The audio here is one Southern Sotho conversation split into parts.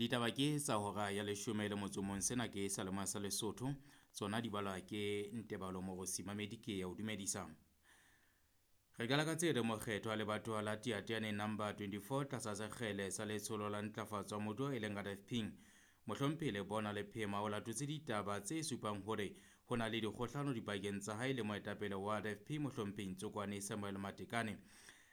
Ditaba ke tsa hora ya 11. Sena ke Salema sa Lesotho. Tsona di balwa ke Ntebalo Morosi Mamedi ke ya o dumedisa. Re qala ka tse re mokgetho wa lebatowa la Teyateyaneng number 24 tlasa sekgele sa letsholo la ntlafatso ya moruo e leng RFP. Mohlomphehi Lebona Lephema o latotse ditaba tse supang hore ho na le dikgohlano dipakeng tsa hae le moetapele wa RFP Mohlomphehi Ntsokwane Samuel Matekane.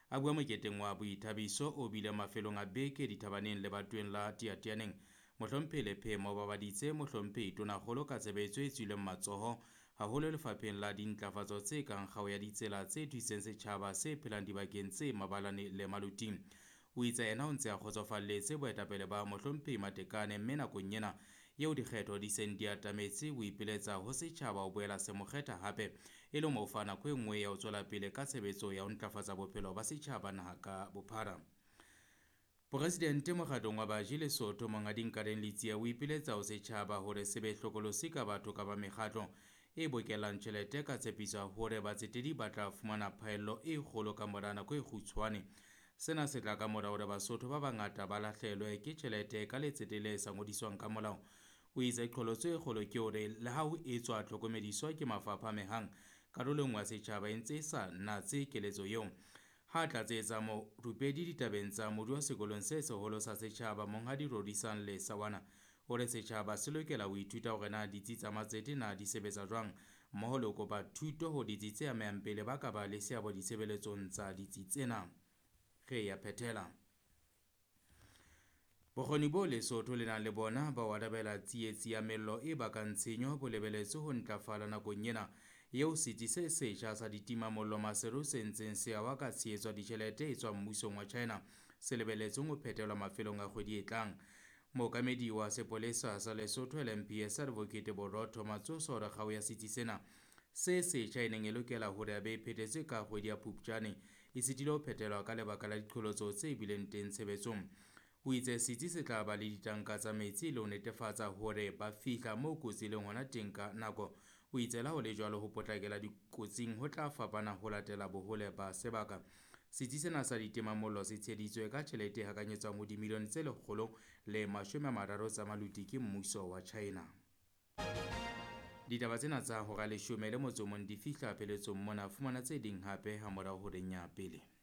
A bua moketeng wa boithabiso o bile mafelong a beke dithabaneng lebatoweng la Teyateyaneng. Mohlomphehi Lephema o babaditse Mohlomphehi Tonakgolo ka tshebetso e tswileng matsoho haholo lefapheng la dintlafatso tse kang kgao ya ditsela tse thusitseng setjhaba se phelang dibakeng tse mabalane le maluting. O itse yena o ntse a kgotsofalletse boetapele ba Mohlomphehi Matekane mme nakong ena eo dikgetho di seng di atametse o ipiletsa ho setjhaba ho boela se mo kgetha hape e le mo fa nako e nngwe ya ho tswela pele ka tshebetso ya ho ntlafatsa bophelo ba setjhaba naha ka bophara. Poresidente mokgatlong wa baji Lesotho Monghadi Nkareng Letsie o ipiletsa ho setjhaba hore se be hlokolosi ka batho kapa mekgatlo e bokellang tjhelete ka tshepiso ya hore batsetedi ba tla fumana phaello e kgolo ka mora nako e kgutshwane. Sena se tla ka mora hore Basotho ba bangata ba lahlehelwe ke tjhelete ka letsete le sa ngodiswang ka molao. O itse qholotso e kgolo ke hore le ha ho etswa tlhokomediso ke mafapha a amehang, karolo e nngwe ya setjhaba e ntse e sa natse keletso eo. Ha tlatsetsa morupedi ditabeng tsa moruo sekolong se seholo sa setjhaba Monghadi Rorisang Lesawana o re setjhaba se lokela ho ithuta hore na ditsi tsa matsete na di sebetsa jwang mmoho le ho kopa thuto ho ditsi tse amehang pele ba ka ba le seabo ditshebeletsong tsa ditsi tsena. Re ya phethela. Bokgoni bo Lesotho le nang le bona ba ho arabela tsietsi ya mello e bakang tshenyo bo lebeletswe ho ntlafala nakong ena eo setsi se setjha sa ditimamollo Maseru se ntseng se ahwa ka tshehetso ya ditjhelete e tswang mmusong wa China se lebelletsweng ho phethelwa mafelong a kgwedi e tlang. Mookamedi wa sepolesa sa Lesotho LMPS Advocate Borotho Matsoso o re kgao ya setsi sena se setjha e neng e lokela hore a be e phethetswe ka kgwedi ya Phupjane e sitile ho phethelwa ka lebaka la diqholotso tse bileng teng tshebetsong. O itse setsi se tla ba le ditanka tsa metsi le ho netefatsa hore ba fihla moo kotsi e leng hona teng ka nako. O itse le ha ho le jwalo ho potlakela dikotsing ho tla fapana ho latela bohole ba sebaka. Setsi sena sa ditimamollo se tsheheditswe ka tjhelete e hakanyetswang ho dimilione tse 130 tsa maluti ke mmuso wa China. Ditaba tsena tsa hora 11 di fihla pheletsong mona. Fumana tse ding hape hamorao horeng ya pele.